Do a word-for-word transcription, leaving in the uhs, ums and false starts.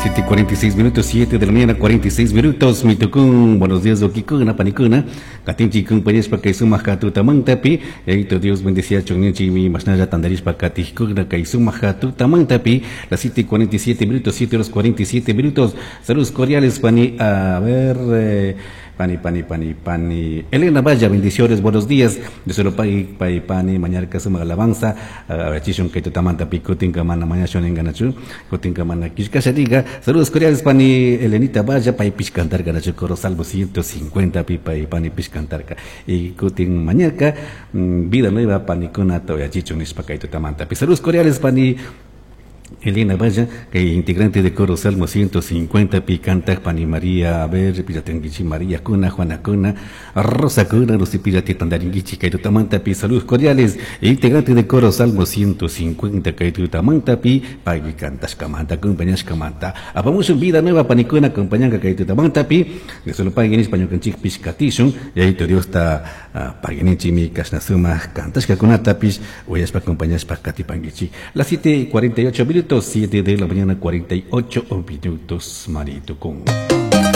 Siete cuarenta y seis minutos, siete de la mañana, cuarenta y seis minutos. Mitucún, buenos días, Okikuna, Panicuna. Katinchi, compañeros, kay sumak tutamantapi. Yaito Dios bendecía chunnichi mi masnaya tandarishpa katijkuna kay sumak tutamantapi. Las siete cuarenta y siete minutos, siete horas cuarenta y siete minutos. Saludos cordiales, Pani. A ver, eh, Pani, Pani, Pani, Pani. Elena Valla, bendiciones, buenos días. De solo pai, pai, Pani, mañarka suma alabanza. A chishun kay tutamantapi, kutinka mana mañashun enganachu, kutinka mana kishkasha diga. Saludos cordiales, Pani Elenita Valla, pai pishkantarka, nachu coro salvo ciento cincuenta pi, pai, Pani pishkantarka. Y kutin mañarka, vida nueva, Pani kuna toya chichun nishpa kay tutamantapi. Saludos cordiales, Pani Elena Valla, que integrante de Coro Salmo ciento cincuenta, Picanta, Pani María, a ver, Piratenguichi, María Cuna, Juana Cuna, Rosa Cuna, Lucy Pirati, Tandaringuichi, Kaitutamantapi, saludos cordiales, integrante de Coro Salmo ciento cincuenta, Kaitutamantapi, Pagui Cantashkamanta, acompañashkamanta, apamos un vida nueva, Panicuna, acompañanga, Kaitutamantapi, de solo paguen español, canchik, pishkatishun, y ahí te Dios está, paguenichi, mi kashnasuma, cantashkakunatapis, oyaspa, acompañashpa, katipanguichi. Las siete cuarenta y ocho minutos, siete de la mañana, cuarenta y ocho minutos, Marito con.